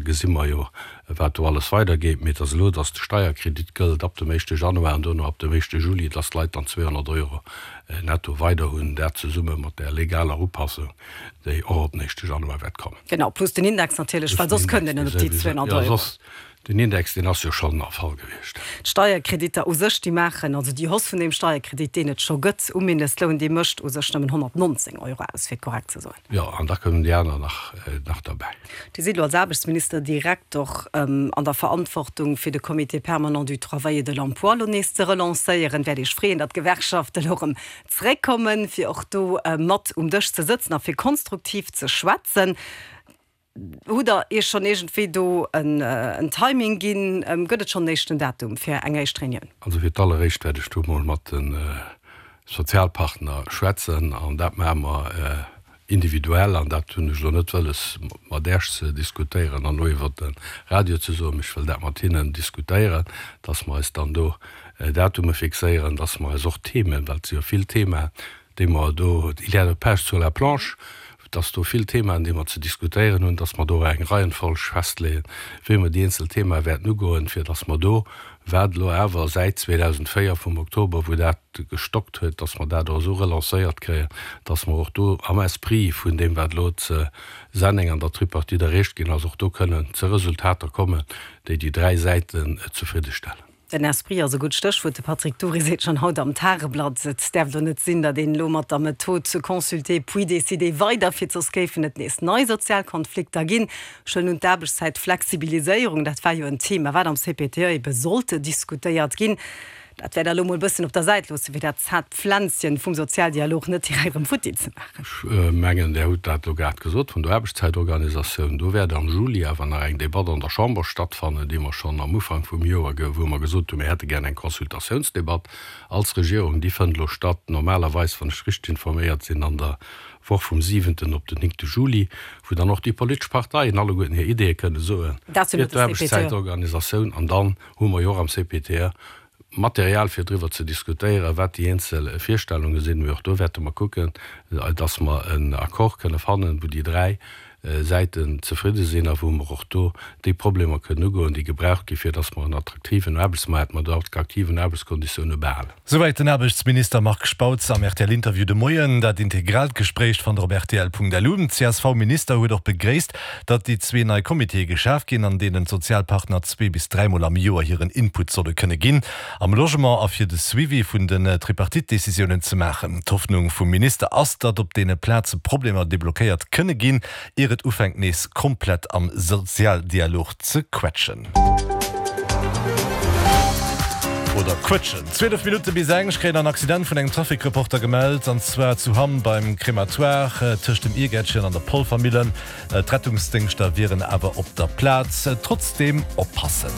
gesi mer jo, wat do alles weidergeet. Mee et ass elo, dass de Steierkredit gëllt ab dem éischte Januar an duerno ab dem éischte Juli, dass d'Leit dann 200 Euro netto weider hunn, dat zesumme mat där legaler Upassung, déi och op den éischte Januar wäert kommen. Genau, plus den Index natierlech, well soss kënnt een net op déi 200 Euro. Jo, soss, den Index, deen ass jo schonn erfall gewiescht. D'Steierkreditter u sech, déi maachen, also déi Hausse vun deem Steierkredit, deen et scho gëtt um Mindestloun, dee mécht u sech nëmmen 119 Euro aus, fir et korrekt ze soen. Jo, an da kommen déi aner nach, nach derbäi. Dir sidd elo als Aarbechtsminister direkt och an der Verantwortung, fir de Comité permanent du travail et de l'emploi elo nees ze relancéieren. Wäert Iech freeën, datt d'Gewerkschaften elo erëm zréckkommen, fir och do mat um Dësch ze sëtzen a fir konstruktiv ze schwätzen. Hutt Der Iech schonn iergendwéi do en Timing ginn? Gëtt et schonn en éischten Datum fir eng éischt Reunioun? Also fir d'alleréischt wäert ech do mol mat de Sozialpartner schwätzen an dat maache mer individuell an dat hunn ech elo net wëlles mat Äech ze diskutéieren an elo iwwert de Radio ze soen, mee ech wëll dat mat hinnen diskutéieren, dass mer eis dann do Datume fixéieren, dass mer eis och Themen, well et si jo vill Themaen, déi mer do, il y a de pain sur la planche, dass do vill Themaen, déi mer ze diskutéieren hunn, dass mer do och eng Reihenfolg festleeën, wéi mer déi eenzel Themae wäerten ugoen, fir dass mer do, wat elo awer säit 2004 vum Oktober, wou dat gestockt huet, dass mer dat och esou relancéiert kréien, dass mer och do am Esprit vun deem, wat elo ze Senneng an der Tripartite erreecht ginn ass, och do kënnen ze Resultater kommen, déi déi dräi Säiten zefriddestellen. Den Esprit ass e gutt Stéchwuert. De Patrick Dury seet schonn haut am Tageblatt, et däerf elo net sinn, datt een elo mat der Method consulter puis décider weiderfiert, soss géifen et nees nei sozial Konflikter ginn. Ech huelen un, d'Aarbechtszäitflexibiliséierung, dat war jo en Thema, wat am CPTE ebe sollt diskutéiert ginn. Dat wäert Der elo mol e bëssen op der Säit loossen, fir dat zart Pflänzchen vum Sozialdialog net direkt erëm futti ze maachen. Ech mengen, Der hutt dat elo grad gesot, vun der Aarbechtszäitorganisatioun. Do wäert am Juli awer nach eng Debatt an der Chamber stattfannen, déi mer schonn am Ufank vum Joer, wou mer gesot hunn, mir hätte gär eng Consultatiounsdebatt als Regierung. Déi fënnt elo statt, normalerweis, wann ech richteg informéiert sinn, an der Woch vum siwenten op den néngte Juli, wou dann och déi politesch Parteien alleguerten hir Ideeë kënne soen fir d'Aarbechtszäitorganisatioun. An dann hu mer jo och am CPTE Material fir driwwer ze diskutéieren, wat déi eenzel Virstellunge sinn. Mee och do wäerte mer kucken, dass mer en Accord kënne fannen, wou déi dräi Säiten zefridde sinn a wou mer och do déi Problemer kënnen ugoen, déi gebraucht gi fir dass mer en attraktiven Aarbechtsmaart mat attraktiven Aarbechtskonditioune behalen. Souwäit den Aarbechtsminister Marc Spautz am RTL-Interview de Moien. Dat integraalt Gespréich fannt der op rtl.lu. Den CSV-Minister huet och begréisst, datt déi zwee nei Comitéë geschaf ginn, an deenen d'Sozialpartner zwee bis dräimol am Joer hiren Input solle kënne ginn am Logement a fir de Suivi vun den Tripartite-Decisiounen ze maachen. D'Hoffnung vum Minister ass, datt op deene Plaze Problemer deblockéiert kënne ginn, ier et ufänkt nees komplett am Sozialdialog ze quetschen. Oder quëtschen. 12 Minutte bis eng. Ech kréien en Accident vun engem Trafic-Reporter gemellt, an zwar zu Hamm beim Crématoire tëscht dem Iergäertchen an der Polvermillen. D'Rettungsdéngschter wieren awer op der Plaz. Trotzdeem oppassen.